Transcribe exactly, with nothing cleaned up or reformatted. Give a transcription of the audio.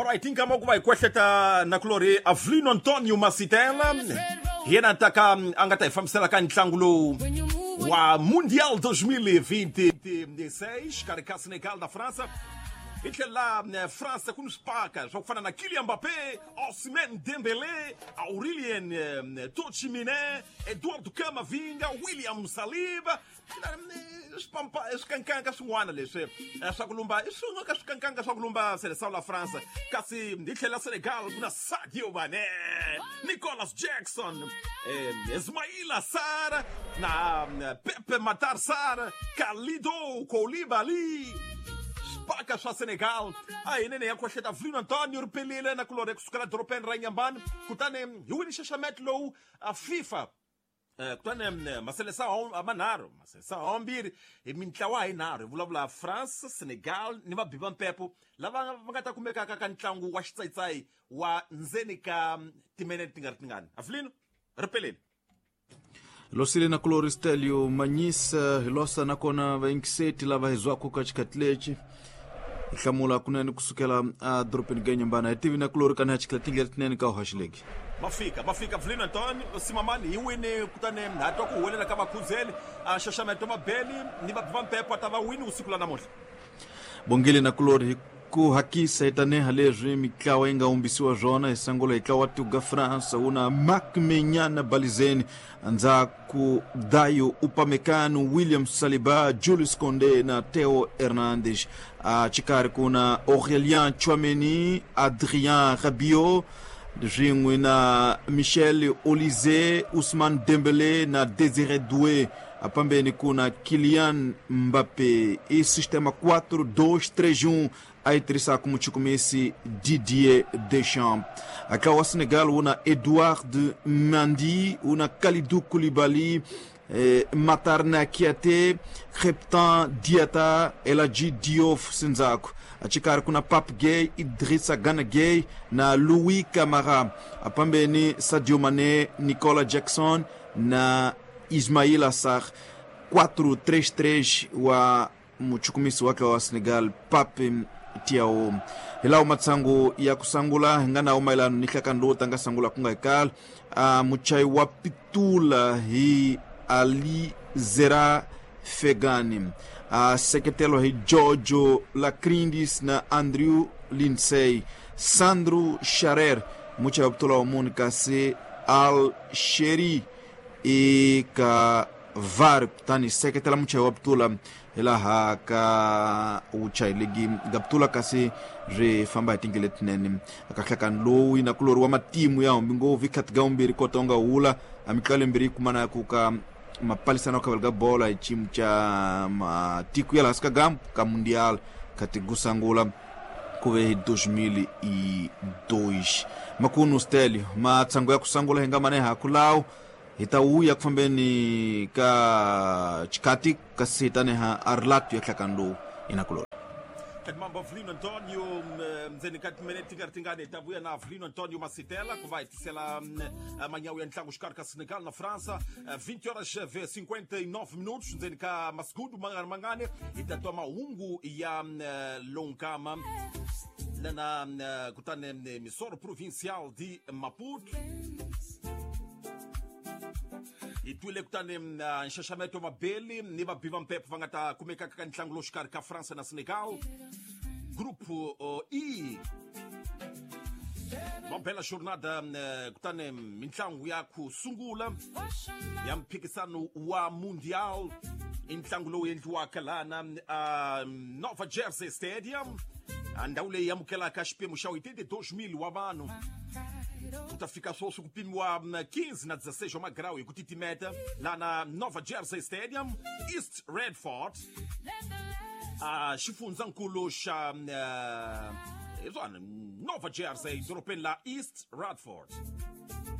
Alright, nkama ku va hi kwehleta na kulori Avelino Antonio Masitela hi yena taka a nga ta hi fambisela ka ntlangu lowu wa Mundial dois mil e vinte e seis xikarhi ka Senegal na França. Hi tlhela França ku ni swipaka swa ku fana na Kylian Mbappé, Ousmane Dembélé, Aurélien Tchouaméni, Eduardo Camavinga, William Saliba, swipampa swikankanga swin'wana leswi swa ku lumba i swin'we ka swikankanga swa ku lumba seleção la França. Kasi hi tlhela Senegal ku na Sadio Mané, Nicolas Jackson, Ismaila Sarr na Pepe Matar Sarr, Kalidou Koulibaly. Paka swa Senegal a hi nene ya kohleta Avelino Antonio ripelile na kulore kusukela dorobeni ra Inhambane kutani hi wini nxaxameto lowu a FIFA kutani maselesao manharhu maselesao mambirhi hi mintlawa hi nharhu hi vulavula France, Senegal ni vabiva mpepo lava va nga ta kumekaka ka ntlangu wa xitsayitsayi wa ndzeni ka timinete ti nga ri tingani. Avelino ripelile. Losile na kulori Stelio Manyisa hilosa nakona vaingiseti lava hizwaku ka xikhathi lexi hi hlamula kunene kusukela a dorobeni ka Inhambane hi tivi na kulori kana xikhathi tindlela tinene ka uhaxileki. Mafika mafika Avelino Antonio Simamani hi wini kutani ha twa ku huwelela ka vakhuzeli a xaxameto mabeli ni vabiva mpepo ta va wini usiku la namuntlha. Bongile na kulori hi ku hakisa hi taneha leswi mitlawa yi nga humbisiwa swona hi sangula hi tlawa tuga France una Marc Menyana Balizeni ndzhaku Dayo Upamecano, William Saliba, Julius Condé na Theo Hernandez. A xikarhi ku na Aurélien Tchouaméni, Adrien Rabiot swin'we na Michel Olise, Ousmane Dembélé na Désiré Doué. Apambeni kuna Kylian Mbappé. E sistema quatro dois três um a tirisa como chukumesi Didier Deschamps. Acá o Senegal una Edouard Mendy, una Kalidou Koulibaly, eh, Matar Nakiate, Reptan Diata, Eladji Diouf Senzako. Achikari kuna Pape Gueye, Idrissa Gana Gueye na Louis Camara. Apambeni Sadio Mané, Nicolas Jackson na Ismaila Sarr. Quatro três três wa muchukumisi wake wa Senegal Pape Thiaw. Hilawo matsangu ya kusangula ngana umailano ni hlakando tanga sangula kunga ikala uh, muchai wa pitula hi Ali Zera Fegani, uh, sekretelo hi Giorgio Lacrindis na Andrew Lindsay, Sandro Charer muchai wa pitula wa Monica se Al Sheri e ka var tani sekretela muchai wa pitula hilaha ka uchayilegi gaptula kasi ri famba hi tindlela letinene akahlakani lowu yi na kulori wa matimu ya humbi ngopfu ikhati ga umbirhi kota u nga hula a mitlalo yimbirhi yi kumana ku ka mapalisano khavela ka bola hi ximu xa matiko ya laha ka gambu ka mundial khati ku sangula ku ve hi dois mil e dois. Makunu Stelio matsango ya ku sangula hi nga mane haku lawo hi ta wuya ku fambeni ka xikati kasi hi taneha a rilatu ya hlakani lowu inakulori. Mambo Avelino Antonio ndzeni ka timinete ti nga ri tingani hi ta vuya na Avelino Antonio Masitela ku va hi tisela manyawu ya ntlangu xikarhi ka Senegal na França vinte horas e cinquenta e nove minutos ndzeni ka masigudu mangani mangani hi ta twa mahungu ya Lonkama lana kutani Missoro Provincial de Maputo. Hi twile kutani nxaxameto mabeli ni vabiva mpepo va nga ta kumeka ka ntlangu lowu xikarhi ka France na Senegal grupo E. Va bela jornada kutani mintlangu ya ku sungula ya mphikisano wa Mundial i ntlangu lowu endliwaka lana Nova Jersey Stadium ndhawu leyi amukelaka xiphemu xa oitenta e dois mil wa vanhu. Ku ta fika sweswi ku pimiwa quinze na dezesseis wa magrawu hi ku titimeta laha na Nova Jersey Stadium, East Redford, a xifundzankulu xa hi swona Nova Jersey dorobeni la East Radford.